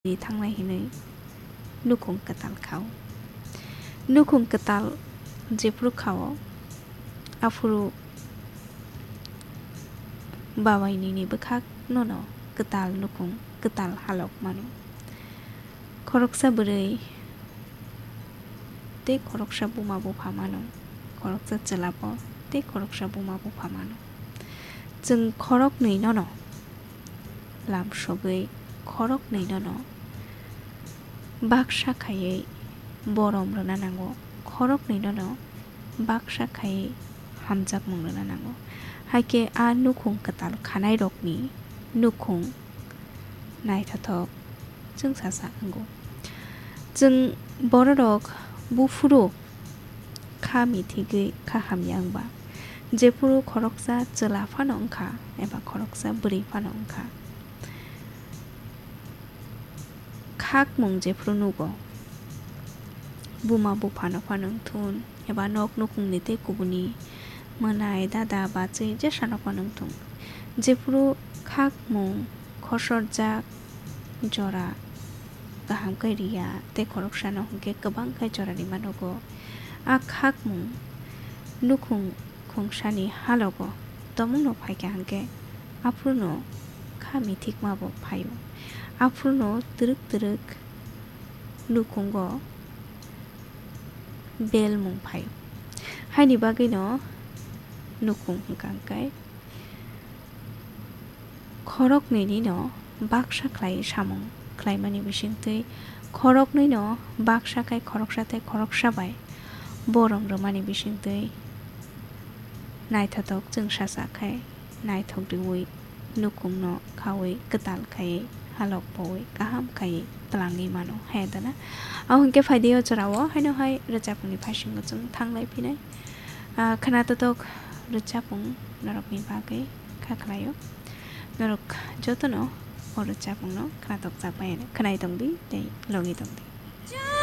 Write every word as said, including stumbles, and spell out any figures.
thangnai hinwi nukhung kwtal khao. Nukhung kwtal jephuru khao, aphuru babai nini bwkhak nono kwtal nukhung kwtal halok mano. Khoroksa bwrwi tei khoroksa buma bupha mano, khoroksa chwla bo tei khoroksa buma bupha mano. Chwng khoroknwi nono lam sogwi khoroknwi nono baksa khaiwi borom rwna nango, khoroknwi nono baksa khaiwi hamjakmung rwna nango. Haikhe a nukhung kwtal khanairokni nukhung naithothok chwng sasa wngo. Chwng bororok buphuru kha mithigwi kha hamya wngba, jephuru khoroksa chwla phano wngkha eba khoroksa bwrwi phano wngkha, khakmung jephuru nugo, buma buphano phano wngthun eba nok nukhungni tei kubuni mwnai, dada, bachwi jesano phano wngthung, jephuru khakmung khosorjak jora kaham khe riya tei khoroksano hwnkhe kwbang khe jora rima nugo. A khakmung nukhung khungsani halogo tomungno phaikha hwnkhe aphuruno kha mithikmabo phaio. Aphuruno twrwk twrwk nukhungo belmung phaio. Haini bagwino nukhung hwnkha hwnkhe khoroknwinino baksa khlai samung khlaimani bisingtwi, khoroknwino baksa khai khoroksa tei khoroksa bai borom rwmani bisingtwi naithothok chwngsacha khai naithok riwi nukhungno khawi kwtal khai halok powi kaham khai twlangwi mano hai dana. Ahwnkhe phaidi o jorao haino hai rwchapmungni phaisingo chwng thanglai phinai. Ah, khwnatok rwchapmung norokni bagwi kha khlaio. Norok jotono o rwchapmungno khwnatok chak bai khwnai tongdi tei logi tongdi.